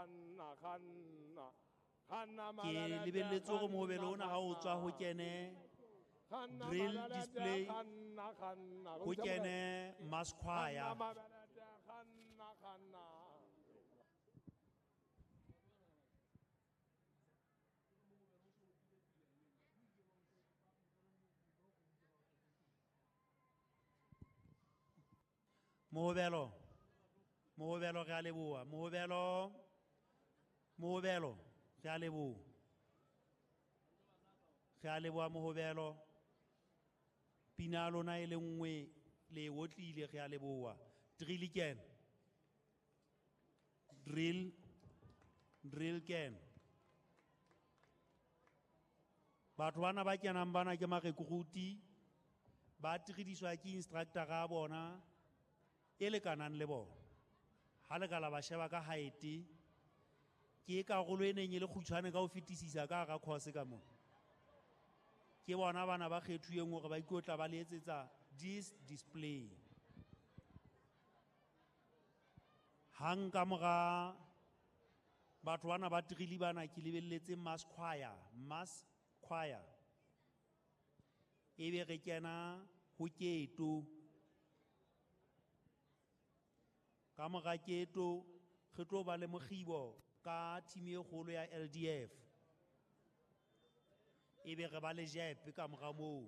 kganna, kganna. Kganna Ke mabelete, lebelletse hore kganna, mohobelo ona ha o tswa ho kganna. kene Kganna drill mabelete, display, kganna, kganna. ho kene mass choir. Kganna mabelete, kganna, kganna. Mohobelo, mohobelo re a leboha. Mohobelo, mohobelo re a leboha. Re a leboha mohobelo. Pina ya lona e le nngwe le e otlile, re a leboha. Drill ken. Drill, drill ken. Batho bana ba kenang bana ke marekruti, ba tiridiswa ke instructor ya bona e lekanang le bona. Ha le ka la ba sheba ka height, ke karolo e neng e le kgutshwane ka ho fetisisa ka hara course ka moo. Ke bona bana ba kgethuweng hore ba ikotla ba le etsetsa this display. Hang ka mora batho bana ba drill bana ke lebelletse mass choir, mass choir. Ebe re kena ho keto. Ka mora keto re tlo ba le mokgibo ka team e kgolo ya LDF. Ebe re ba le jepe ka mora moo.